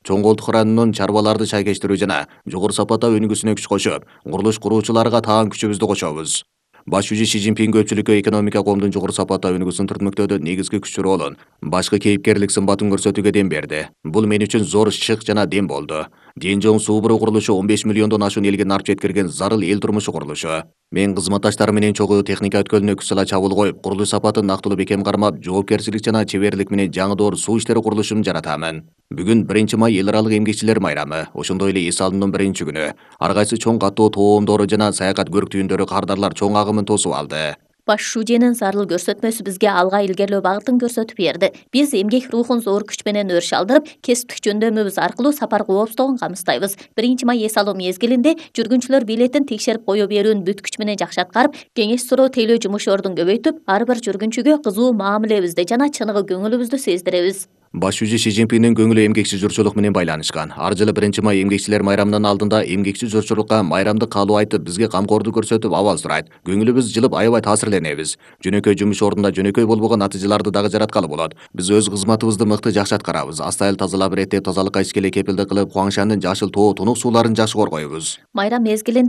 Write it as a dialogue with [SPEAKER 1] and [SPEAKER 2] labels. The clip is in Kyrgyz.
[SPEAKER 1] Чоң Колтук районунун чарбаларды шайкештирүү жана жогору сапата өнүгүүсүнө күч кошуп, курулуш куруучуларга таан күчүбүздү кошобуз. Баш жүзү Си Цзиньпин көпчүлүккө экономика коомдун жогору сапата өнүгүүсүн түртмөктөөдө негизги күч ролун, башкы кейипкерлик сымбатын көрсөтүүгө дем берди. Бул мен үчүн зор шык жана дем болду. Ден-жоң суу буруу курулушу 15 миллиондон ашуун элге нарп жеткирген зарыл эл турмушу курулушу. Мен кызматташтарым менен чогуу техника өткөлүнө күч сала чабуул коюп, курулуш сапатын актылуу бекем кармап, жоопкерчилик жана чеберлик менен жаңы суу иштери курулушун жаратамын. Бүгүн 1-май эл аралык эмгекчилер майрамы, ошондой эле эс алуунун биринчи күнү. Ар кайсы чоң каттоо тоомдору жана саякат көрктүүндөрү кардарлар чоң агымын тосуп алды.
[SPEAKER 2] Баш шуженин зарыл көрсөтмөсү бизге алга илгерлөө багытын көрсөтүп берди. Биз эмгек рухун зор күч менен өрүш алдырып, кесиптик жөндөмүбүз аркылуу сапар коопсуздугун камсыздайбыз. 1-май эс алуу мезгилинде жүргүнчүлөр билетин текшерип кое берүүнү бүт күч менен жакшы аткарып, кеңеш суроо тейлөө жумуш-ордун көбөйтүп, ар бир жүргүнчүгө кызуу маамилебизди жана чыныгы көңүлүбүздү сездиребиз.
[SPEAKER 1] Баш жүзү Си Цзиньпиндин көңүлү эмгекчи журчулук менен байланышкан. Ар жылы 1-май эмгекчилер майрамынын алдында эмгекчи журчулукка майрамдык каалоо айтып, бизге камкордук көрсөтүп, абал сурайт. Көңүлүбүз жылып, аябай таасирленебиз. Жөнөкөй жумуш ордунда жөнөкөй болбогон натыйжаларды дагы жараткалы болот. Биз өз кызматыбызды мыкты жакшы аткарабыз. Астайыл тазалап, иреттеп, тазалыкка ичкелей кепилдик кылып, Хуаңшандын жашыл тоо тунук сууларын жакшы коргойбуз.
[SPEAKER 2] Майрам мезгилинде